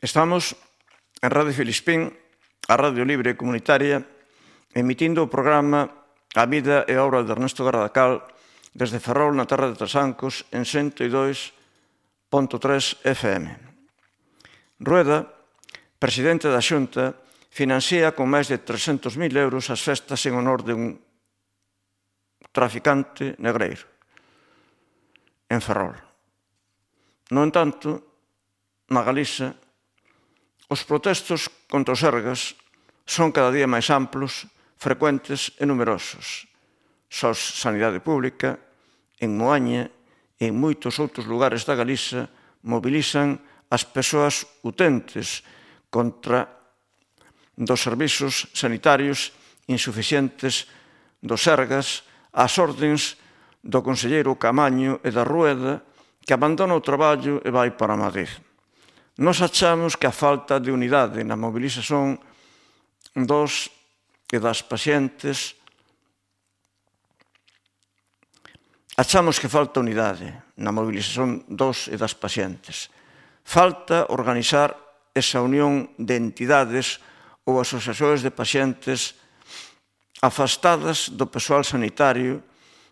Estamos en Radio Filispín, a Radio Libre Comunitaria, emitindo o programa A vida e a obra de Ernesto Gardacal desde Ferrol, na terra de Trasancos, en 102.3 FM. Rueda, presidente da Xunta, financia con máis de 300.000 euros as festas en honor de un traficante negreiro en Ferrol. No entanto, na Galiza, os protestos contra os Sergas son cada día máis amplos, frecuentes e numerosos. SOS Sanidade Pública, en Moaña e en moitos outros lugares da Galiza mobilizan as persoas utentes contra dos servizos sanitarios insuficientes dos Sergas ás ordens do conselleiro Camaño e da Rueda, que abandona o traballo e vai para Madrid. Nos achamos que a falta de unidade na mobilización dos e das pacientes Achamos que falta unidade na mobilización dos e das pacientes. Falta organizar esa unión de entidades ou asociacións de pacientes afastadas do persoal sanitario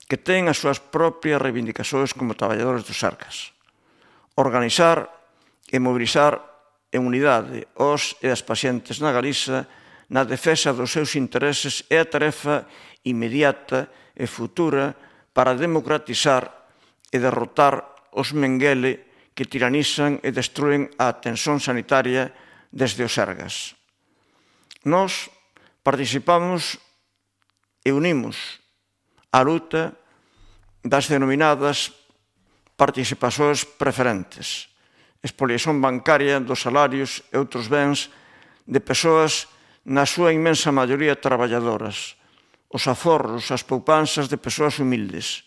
que ten as súas propias reivindicacións como traballadores dos Sergas. Organizar e mobilizar en unidade os e as pacientes na Galiza na defensa dos seus intereses é a tarefa inmediata e futura para democratizar e derrotar os Mengele que tiranizan e destruen a atención sanitaria desde os Sergas. Nós participamos e unimos a luta das denominadas participacións preferentes, expoliación bancaria dos salarios e outros bens de persoas na súa inmensa maioría traballadoras, os aforros, as poupanzas de persoas humildes.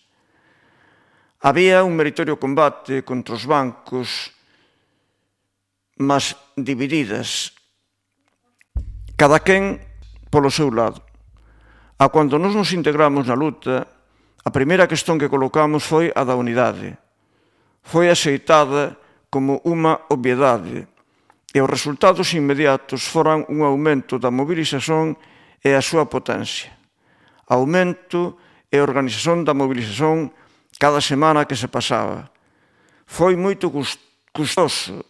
Había un meritorio combate contra os bancos, mas divididas, cada quen polo seu lado. A cando nos integramos na luta, a primeira cuestión que colocamos foi a da unidade. Foi aceitada como unha obviedade e os resultados inmediatos foran un aumento da mobilización e a súa potencia. Aumento e organización da mobilización cada semana que se pasaba. Foi moito custoso.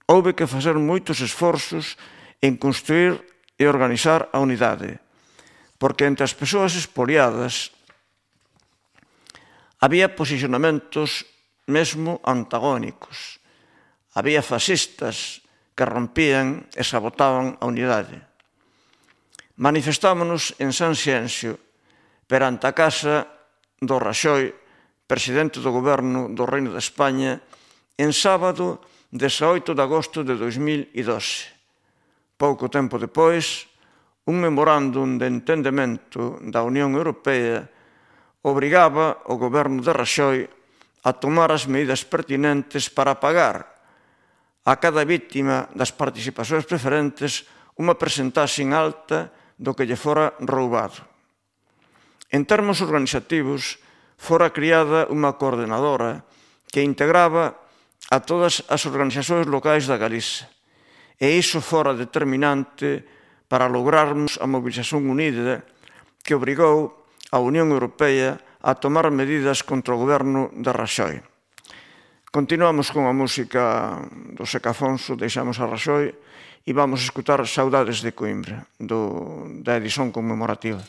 Houve que facer moitos esforzos en construir e organizar a unidade, porque entre as persoas expoliadas había posicionamentos mesmo antagónicos. Había fascistas que rompían e sabotaban a unidade. Manifestámonos en San Xienxo perante a casa do Raxoi, presidente do Goberno do Reino de España, en sábado 18 de agosto de 2012. Pouco tempo depois, un memorándum de entendemento da Unión Europea obrigaba o Goberno de Raxoi a tomar as medidas pertinentes para pagar a cada vítima das participacións preferentes unha percentaxe alta do que lle fora roubado. En termos organizativos, fora criada unha coordenadora que integraba a todas as organizacións locais da Galiza, e iso fora determinante para lograrmos a mobilización unida que obrigou a Unión Europea a tomar medidas contra o goberno de Raxoi. Continuamos con a música do Seca Afonso, deixamos a Raxoi e vamos a escutar Saudades de Coimbra, da edición conmemorativa.